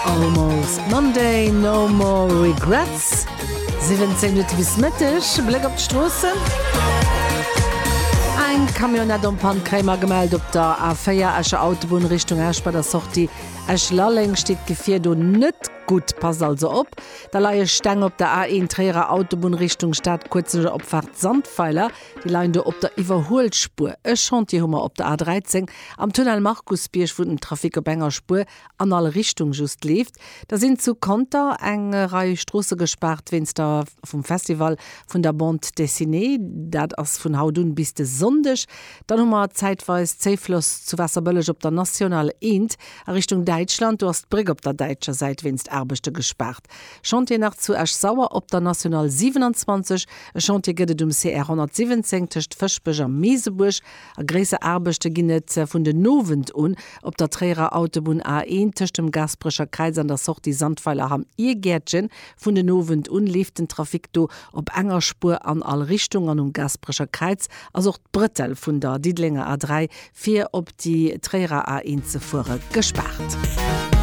Almost Monday, no more regrets. 17 Minutte bis Mëtteg, Bléck op d'Stroossen. Eng Camionnette en panne kréie mer gemellt op der A4 Escher Autobunn Richtung Esch bei der Sortie Esch-Lalleng steet d'Gefier do net gutt, passt also op. Da leie Steng op der A1 Tréierer Autobunn Richtung Stad kuerz no der Opfaart Sandweiler. Déi leien do op der Iwwerhuelspuer. E Chantier hu mer op der A13 am Tunnel Markusbierg, wou den Trafic op enger Spuer an all Richtung just leeft. Da sinn zu Conter eng Rei Stroosse gespaart wéinst der vum Festival vun der Bande Dessinée. Dat ass vun haut un bis de Sonndeg. Dann hu mer zäitweis Zéifloss zu Waasserbëlleg op der National 1 a Richtung Däitschland. Do ass d'Bréck op der däitscher Säit wéinst Aarbechte gespaart. Chantier nach zu Esch-Sauer op der National 27. E Chantier gëtt et um CR 117 tëscht Fëschbech a Meesebuerg. A gréisser Aarbechte ginn et vun den Owend un op der Tréierer Autobunn A1 tëscht dem Gaasperecher Kräiz an der Sortie Sandweiler-Hamm Irgäertchen. Vun den Owend un leeft den Trafic do op enger Spuer an all Richtung an um Gaasperecher Kräiz ass och d'Brëttel vun der Diddelenger A3 fir op déi Tréierer A1 ze fuere gespaart.